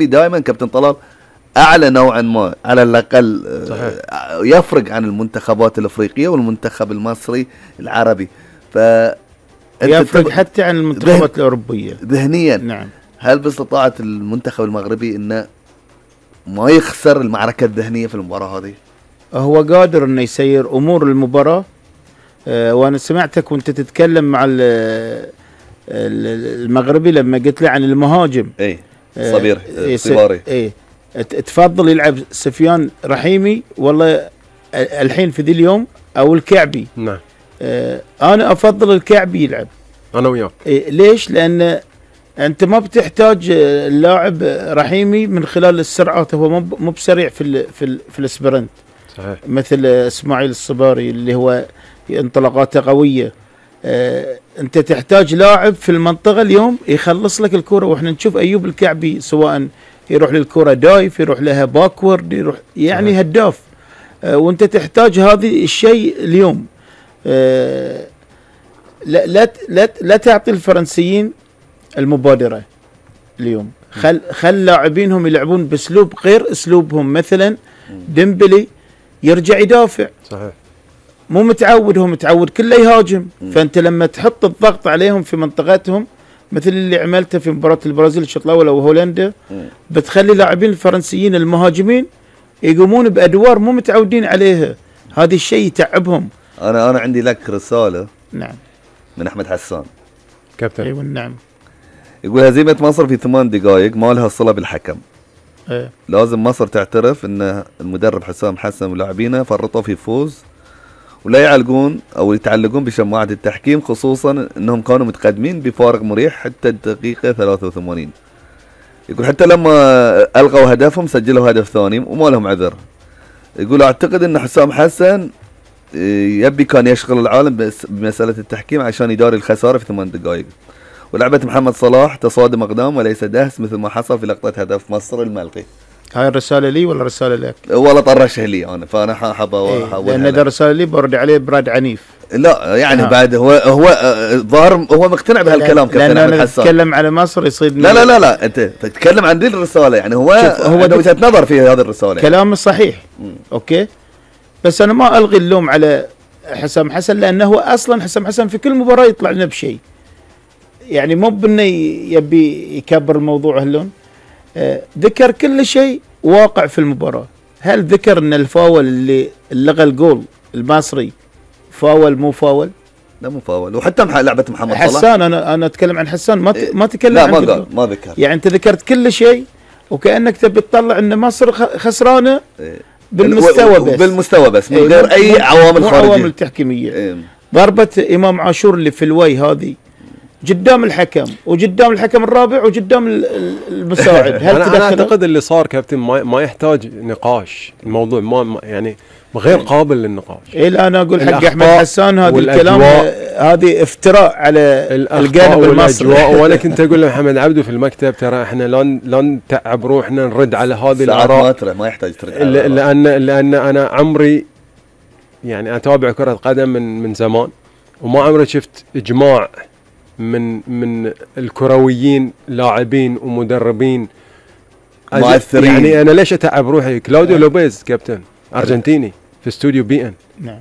دائما كابتن طلال اعلى نوعا ما على الاقل. يفرق عن المنتخبات الافريقيه والمنتخب المصري العربي. يفرق حتى عن المنتخبات الاوروبيه ذهنيا. نعم. هل باستطاعه المنتخب المغربي انه ما يخسر المعركه الذهنيه في المباراه هذه؟ هو قادر انه يسير امور المباراه. وانا سمعتك وانت تتكلم مع المغربي لما قلت له عن المهاجم. صبير صباري. تفضل يلعب سفيان رحيمي والله الحين في ذي اليوم او الكعبي؟ نعم. انا افضل الكعبي يلعب. انا وياك. ليش؟ لان انت ما بتحتاج اللاعب رحيمي من خلال السرعات، هو مو بسريع في الاسبرنت. صحيح. مثل اسماعيل الصباري اللي هو انطلاقاته قويه. انت تحتاج لاعب في المنطقه اليوم يخلص لك الكره، واحنا نشوف ايوب الكعبي سواء يروح للكره دايف، يروح لها باكورد، يروح يعني صحيح. هداف. وانت تحتاج هذا الشيء اليوم. لا تعطي الفرنسيين المبادره اليوم. خل لاعبينهم يلعبون باسلوب غير اسلوبهم. مثلا ديمبلي يرجع يدافع. صحيح. مو متعود، هو متعود كله يهاجم. فانت لما تحط الضغط عليهم في منطقتهم مثل اللي عملته في مباراه البرازيل الشوط الاول او هولندا، بتخلي لاعبين الفرنسيين المهاجمين يقومون بادوار مو متعودين عليها. هذا الشيء يتعبهم. انا عندي لك رساله. نعم. من احمد حسان كابتن. ايوه نعم. يقول هزيمه مصر في 8 دقائق ما لها صله بالحكم. لازم مصر تعترف ان المدرب حسام حسن ولاعبينه فرطوا في فوز، ولا يعلقون او يتعلقون بشماعه التحكيم، خصوصا انهم كانوا متقدمين بفارق مريح حتى الدقيقه 83. يقول حتى لما الغوا هدفهم سجلوا هدف ثاني وما لهم عذر. يقول اعتقد ان حسام حسن يبي كان يشغل العالم بمساله التحكيم عشان يداري الخساره في 8 دقائق. ولعبه محمد صلاح تصادم اقدام وليس دهس مثل ما حصل في لقطه هدف مصر الملغي. هاي الرساله لي ولا رساله لك؟ والله طرشها لي انا، فانا حاب لان اذا رساله لي برد عليه برد عنيف. لا يعني بعد هو ظاهر هو مقتنع بهالكلام كابتن احمد حسان. تتكلم على مصر يصيد. لا انت تتكلم عن دي الرساله، يعني هو عنده وجهه نظر في هذه الرساله. كلامه صحيح. اوكي، بس انا ما الغي اللوم على حسام حسن، لانه هو اصلا حسام حسن في كل مباراه يطلع لنا بشيء. يعني مو بانه يبي يكبر الموضوع هاللون. ذكر كل شيء واقع في المباراه. هل ذكر ان الفاول اللي لغى الجول المصري فاول مو فاول؟ لا مو فاول. وحتى لعبه محمد صلاح حسان، انا اتكلم عن حسان، ما تكلم لا عن ما ذكر. يعني انت ذكرت كل شيء وكانك تبي تطلع ان مصر خسرانه بالمستوى بس من غير اي عوامل خارجيه، عوامل تحكيميه. ضربه امام عاشور اللي في الوي هذه قدام الحكم وقدام الحكم الرابع وقدام المساعد. هل أنا أعتقد اللي صار كابتن ما يحتاج نقاش. الموضوع ما يعني غير قابل للنقاش. إيه أنا أقول حق أحمد حسان هذا الكلام هذه افتراء على الجانب المصري. وأنا كنت أقول لمحمد عبده في المكتب ترى إحنا لا نتعب روحنا نرد على هذه الآراء. ما يحتاج ترد لأن أنا عمري يعني أتابع كرة قدم من زمان، وما عمري شفت إجماع من الكرويين لاعبين ومدربين مؤثرين. يعني انا ليش اتعب روحي؟ كلاوديو لوبيز كابتن ارجنتيني في استوديو بي ان. نعم.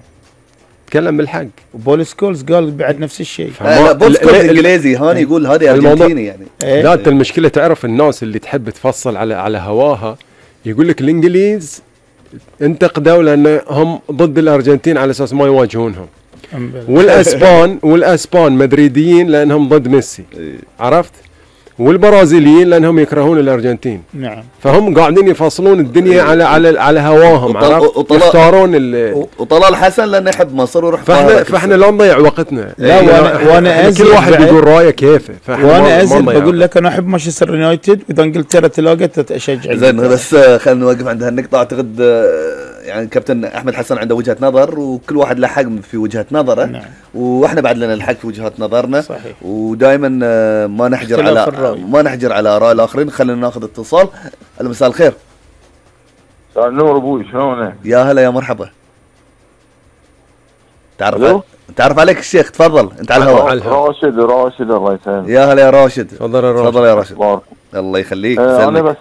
تكلم بالحق. وبول سكولز قال بعد نفس الشيء. بول سكولز انجليزي، هاني يقول هذه ارجنتيني يعني. لا انت المشكله تعرف الناس اللي تحب تفصل على هواها يقول لك الانجليز انتقدوا لان هم ضد الارجنتين على اساس ما يواجهونهم. والاسبان مدريديين لانهم ضد ميسي. عرفت؟ والبرازيليين لانهم يكرهون الارجنتين. نعم. فهم قاعدين يفصلون الدنيا على هواهم. عرفت؟ يختارون وطلال حسن لانه يحب مصر ويروح. فاحنا لا نضيع وقتنا. لا وانا كل واحد يقول رايه كيفه. وانا ازل بقول لك انا احب مانشستر يونايتد، واذا انجلترا تلاقت اشجع. زين بس خلينا نوقف عند هالنقطه. اعتقد يعني كابتن احمد حسن عنده وجهه نظر وكل واحد له حق في وجهه نظره. نعم. واحنا بعد لنا الحق في وجهات نظرنا. صحيح. ودائما ما نحجر على اراء الاخرين. خلينا ناخذ اتصال. مساء الخير. مساء النور ابوي، شلونك؟ يا هلا يا مرحبا. تعرف عليك الشيخ، تفضل انت على الهواء. راشد الله يسلمك. يا هلا يا راشد. تفضل يا راشد. الله يخليك. انا بس